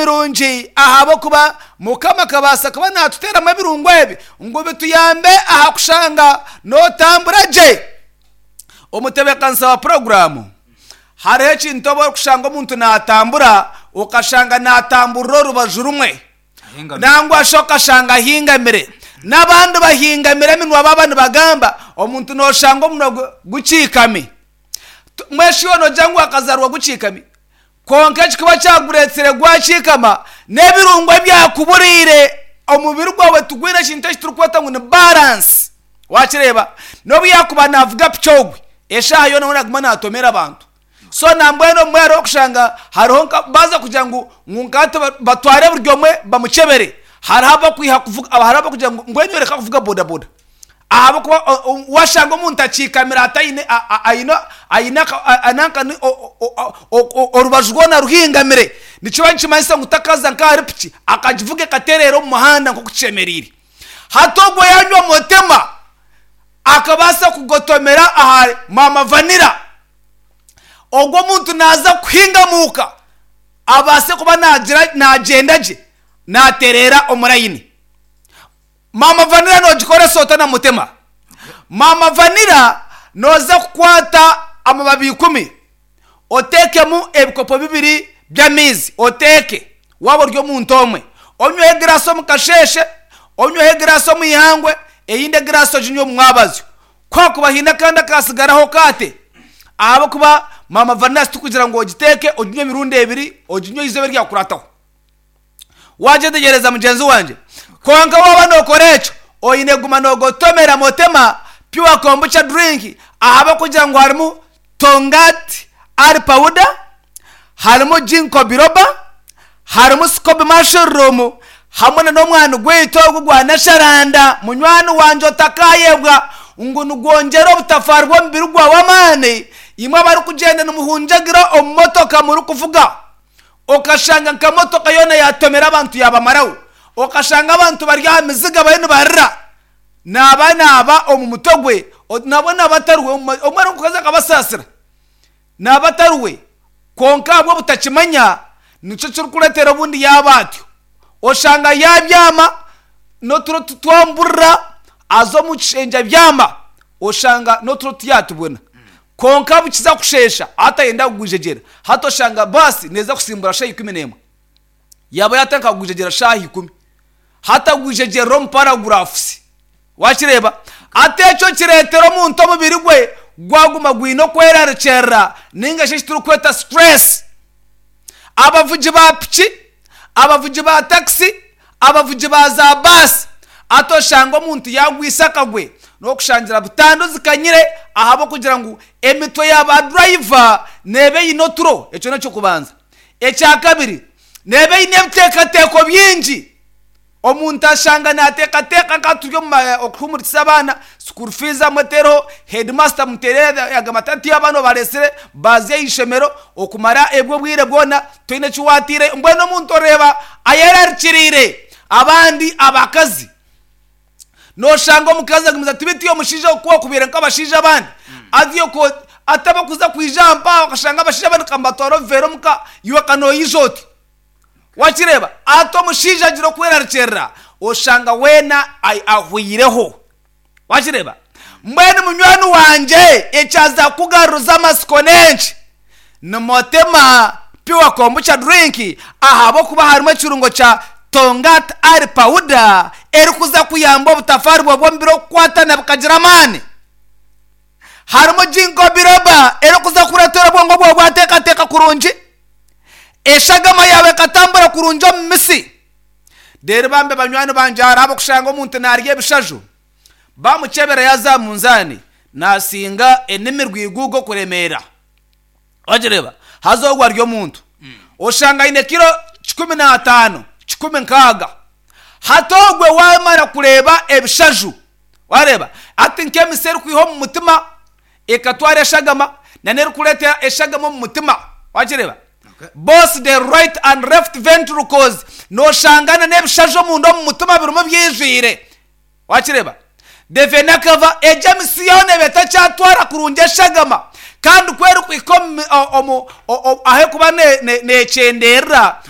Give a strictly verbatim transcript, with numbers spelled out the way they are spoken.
Mirungi, ahabw'okuba Mukama akabaasa kuba naatuteeramu ebirungo ebi ngu bituyambe aha kushanga nootambura gye. Omutebeekanisa wa puroguraamu, hariho ekintu obu orikushanga omuntu naatambura, okashanga naatamburira orubaju rumwe, nangwa shi okashanga ahingamire, n'abandi bahingamire eminwa baaba nibagamba, omuntu nooshanga omunwa gwe gukiikami. Mbwenu shi iwe noogira ngu wakazaarwa gukiikami? Kwonka ekikuba kyagureetsire gwakiikama n'ebirungo ebyakuburiire, omubiri gwawe tigwine ekintu eki turikweta ngu ni balance. Wakireeba? N'obu yaakuba naavuga piki ogwe, eshaaha yoona we naaguma naatomera abantu. So nambwenu obumwe hariho okushanga hariho nka baaza kugira ngu ngu nkahati batware buri omwe bamukyebere, hariho abakwiha kuvuga, hariho abakugira ngu mbwenu iwe reka kuvuga bodaboda, ahabw'okuba washanga omuntu akiikamire ataine aine aine nanka orubaju rwona ruhingamire, nikiba nikimanyisa ngu takaza nk'ahari piki akagivuga ekatereera omu muhanda nk'oku kishemereire. Hati ogwo yaanywa Motema akabaasa kugotomera ahari Maama Vanilla, ogwo omuntu naaza kuhingamuuka abaase kuba naagira naagyenda gye naatereera omu layini. Maama Vanilla noogikoresa ota na Mutema? Maama Vanilla nooza kukwata amababi ikumi oteekemu ebikopo bibiri by'amaizi, oteeke waaba ori omuntu omwe. Onyweho egiraasi omu kasheeshe, onyweho egiraasi omu ihangwe, eyindi egiraasi oginywe omu mwabazyo. Ku hakuba haine akandi akaatsigaraho okaate, ahabw'okuba Maama Vanilla tikugira ngu ogiteeke oginywe emirundi ebiri, oginywe eizooba eryakukurataho. Wagyetegyereza, mugyenzi wangye? Kwonka waaba nookora ekyo, oine kuguma noogotomera Motema Pure Kombucha Drink, ahabw'okugira ngu harimu Tongkat Ali Powder, harimu Ginkgo Biloba, harimu Scoby Mushroom, hamwe na n'omwani gwaitu ogu gwa Nasharanda, munywani wangye otakaayebwa ngu nigwongyera obutafaari bw'omubiri gwawe amaani. Imwe abarikugyenda nimuhungyagira omu motoka murikuvuga, okashanga nka motoka yoona yaatomera abantu yaabamaraho, okashanga abantu bari aha miziga bariyo nibarira, naaba naaba omu mutwe gwe, nabwo naaba atari we, omwe arikukaza akabasaasira, naaba atari we, kwonka ahabw'obutakimanya nikyo kirikureetera obundi yaaba atyo. Oshanga yaabyama n'oturo titwamburira, aza omu kishengye abyama, oshanga n'oturo tiyaatubona. Kwonka bukiza kusheesha hati ayenda kugwijegyera, hati oshanga baasi neeza kusimbura shaaha ikumi n'emwe, yaaba yaatandika kugwijegyera shaaha ikumi, hati agwijegyerera omu paragurafusi. Wakireeba? Hati ekyo kireetera omuntu omubiri gwe gwaguma gwine okwerarikirira ninga shi eki turikweta stress. Abavugi ba piki, abavugi ba takisi, abavugi ba za baasi, hati oshanga omuntu yaagwisa akagwe n'okushangira butandu zikanyire ahabw'okugira ngu emitwe ya baadurayiva neeba eine oturo. Ekyo n'eky'okubanza. Ekya kabiri, neeba eine ebiteekateeko bingi. Omuntu ashanga naateekateeka nka turi omu okuhuumurikiza abaana, school fees amwe teriho, headmaster amuteerire yagamba ati hati abaana obareetsire baaza aha ishomero okumara ebwo obwire bwona toine eki waataireyo. Mbwenu omuntu oreeba ayerarikiriire. Abandi abakazi, nooshanga omukazi agumize ati beitu iwe omushaija oku wakubaire nk'abashaija abandi, haza iwe ataba kuza kwija aha mpaha okashanga abashaija abandi nkamubatwara obuveera omuka, iwe ka noija oti? Wakireeba? Ati omushaija agira okwerarikirira, oshanga weena ahweireho. Wakireeba? Mbwenu munywani wangye, ekyaza kukugaruza amatsiko n'enki? Ni Motema Pure Kombucha Drink, ahabw'okuba harimu ekirungo kya Tongkat Ali Powder erikuza kuyamba obutafaari bwawe bw'omubiri okukwatana bukagira amaani. Harimu Ginkgo Biloba erikuza kureetera obwongo bwawe bwateekateeka kurungi, eshagama yaawe ekatambura kurungi omu mitsi. Reero bambe banywani bangye, hariho ab'okushanga omuntu naarya ebishaju, bamukyebera yaaza aha munzaani naasinga enimi rwiguugo okuremeera. Wagireeba? Haza ogwo ari omuntu. Oshanga aine kiro kikumi n'ataano, kikumi nkaaga. Hati ogwe waamara kureeba ebishaju, wareeba hati nk'emitsi erikwiha omu mutima ekatwara eshagama n'erikureeta eshagama omu mutima, wagireeba? Both the right and left ventricles, nooshanga n'ebishaju omunda omu mutima birimu byijwire. Wakireeba? The vena cava, egyo emitsi yoona eba etakyatwara kurungi eshagama, kandi ku erikuhika omu, omu, ahu erikuba neekyenderera,